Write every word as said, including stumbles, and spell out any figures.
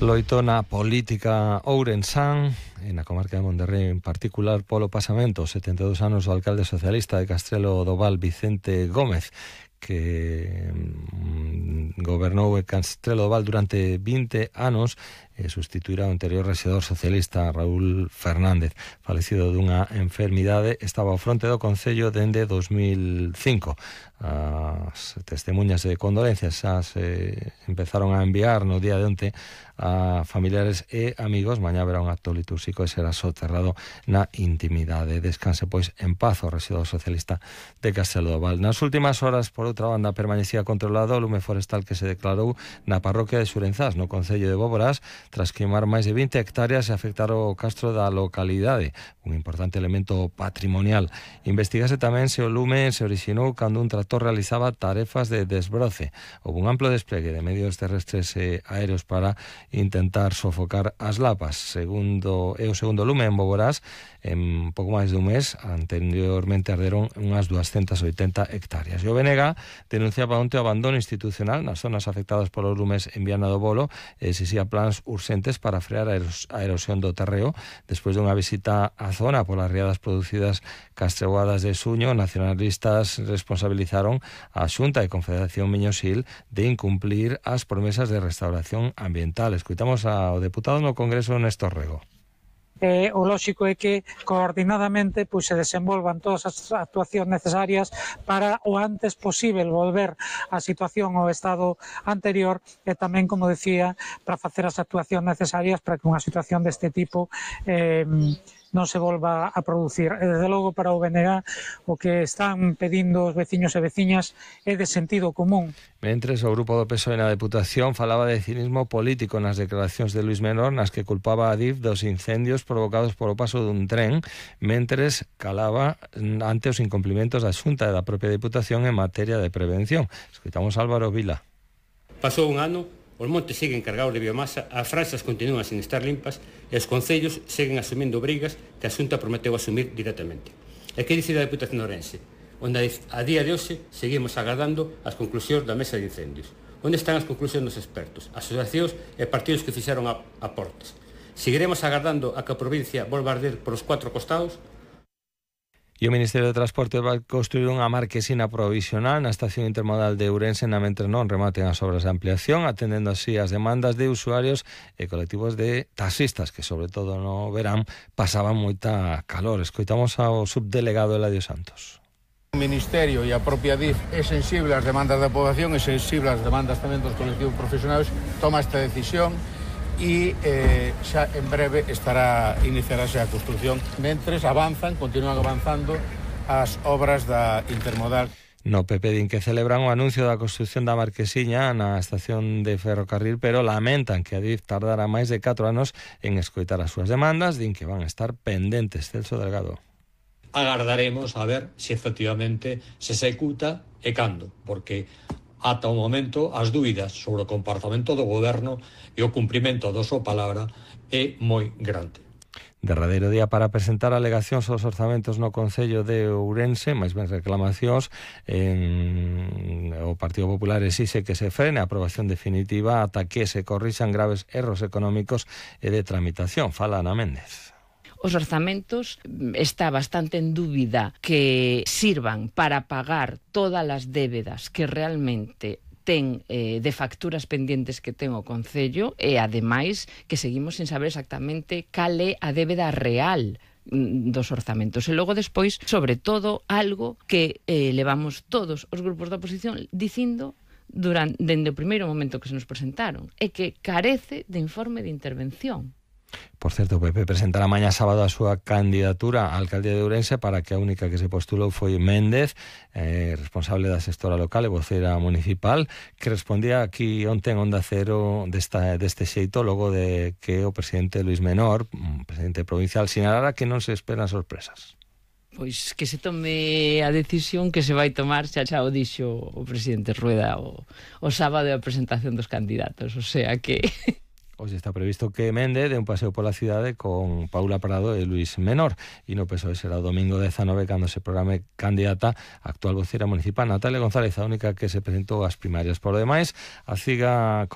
Loito na política ourensán, e na comarca de Monterrey en particular, polo pasamento setenta e dous anos do alcalde socialista de Castrelo do Val, Vicente Gómez, que mm, gobernou en Castrelo do Val durante vinte anos e sustituirá o anterior rexedor socialista Raúl Fernández, falecido dunha enfermidade. Estaba ao fronte do Concello dende dos mil cinco. As testemunhas de condolencias xa se empezaron a enviar no día de onte a familiares e amigos. Mañá haberá un acto litúrxico e será soterrado na intimidade. Descanse, pois, en paz o rexedor socialista de Castrelo do Val. Nas últimas horas, por outra banda, permanecía controlado o lume forestal que se declarou na parroquia de Xurenzás, no Concello de Boborás, tras queimar máis de vinte hectáreas e afectar o castro da localidade, un importante elemento patrimonial. Investigase tamén se o lume se orixinou cando un tractor realizaba tarefas de desbroce. Houve un amplo despliegue de medios terrestres e aéreos para intentar sofocar as lapas. Segundo, é o segundo lume en Boborás en pouco máis dun mes. Anteriormente arderon unhas duascentas oitenta hectáreas. E o B N G denunciaba onte o abandono institucional nas zonas afectadas polos lumes en Viana do Bolo e exixía plans urxentes para frear a erosión do terreo. Despois dunha visita á zona polas riadas producidas castreuadas de Suño, nacionalistas responsabilizaron a Xunta e Confederación Miñosil de incumplir as promesas de restauración ambiental. Escoitamos ao deputado no Congreso, Néstor Rego. Eh, o lóxico é que coordinadamente pois, se desenvolvan todas as actuacións necesarias para o antes posible volver a situación ao estado anterior e tamén, como decía, para facer as actuacións necesarias para que unha situación deste tipo eh, non se volva a producir. E, desde logo, para o B N G o que están pedindo os veciños e veciñas é de sentido común. Mentres, o grupo do P S O E na Deputación falaba de cinismo político nas declaracións de Luís Menor, nas que culpaba a Adif dos incendios provocados polo paso dun tren, mentres calaba ante os incumplimentos da Xunta e da propia Deputación en materia de prevención. Escoitamos Álvaro Vila. Pasou un ano, os montes seguen cargados de biomasa, as franxas continúan sin estar limpas e os concellos seguen asumindo obrigas que a Xunta prometeu asumir directamente. E que dicir a Deputación de Ourense, onde a día de hoxe seguimos agardando as conclusións da mesa de incendios? Onde están as conclusións dos expertos, asociacións e partidos que fixeron aportes? Seguiremos agardando a que a provincia volva a arder por os cuatro costados? E o Ministerio de Transporte vai construir unha marquesina provisional na estación intermodal de Ourense na mentre non rematen as obras de ampliación, atendendo así as demandas de usuarios e colectivos de taxistas que, sobre todo no verán, pasaban moita calor. Escoitamos ao subdelegado Eladio Santos. O Ministerio e a propia D I F é sensible ás demandas da poboación, é sensible ás demandas tamén dos colectivos profesionais, toma esta decisión e eh, xa en breve estará iniciarase a construción. Mentres avanzan, continúan avanzando as obras da intermodal. No P P din que celebran o anuncio da construción da marquesiña na estación de ferrocarril, pero lamentan que a D I F tardará máis de catro anos en escoitar as súas demandas. Din que van a estar pendentes. Celso Delgado. Agardaremos a ver se efectivamente se executa e cando, porque ata o momento as dúbidas sobre o comportamento do goberno e o cumprimento da súa palabra é moi grande. Derradeiro día para presentar alegacións aos orzamentos no Concello de Ourense, máis ben reclamacións. En... O Partido Popular exixe que se frene a aprobación definitiva ata que se corrixan graves erros económicos e de tramitación. Fala Ana Méndez. Os orzamentos está bastante en dúbida que sirvan para pagar todas as débedas que realmente ten eh, de facturas pendientes que ten o Concello e, ademais, que seguimos sin saber exactamente cal é a débeda real dos orzamentos. E logo despois, sobre todo, algo que eh, levamos todos os grupos da oposición dicindo durante, dende o primeiro momento que se nos presentaron, é que carece de informe de intervención. Por certo, o P P presentará mañá sábado a súa candidatura á alcaldía de Ourense, para que a única que se postulou foi Méndez, eh, responsable da xestora local e vocera municipal, que respondía aquí onte en Onda Cero desta, deste xeito, logo de que o presidente Luís Menor, presidente provincial, sinalara que non se esperan sorpresas. Pois que se tome a decisión que se vai tomar, xa xa o dixo o presidente Rueda o, o sábado da presentación dos candidatos, o sea que... Hoxe está previsto que Méndez dé un paseo pola cidade con Paula Prado e Luís Menor, e no P S O E será o domingo dezanove cando se programe candidata a actual vocera municipal Natalia González, a única que se presentou ás primarias. Por lo demais, a C I G A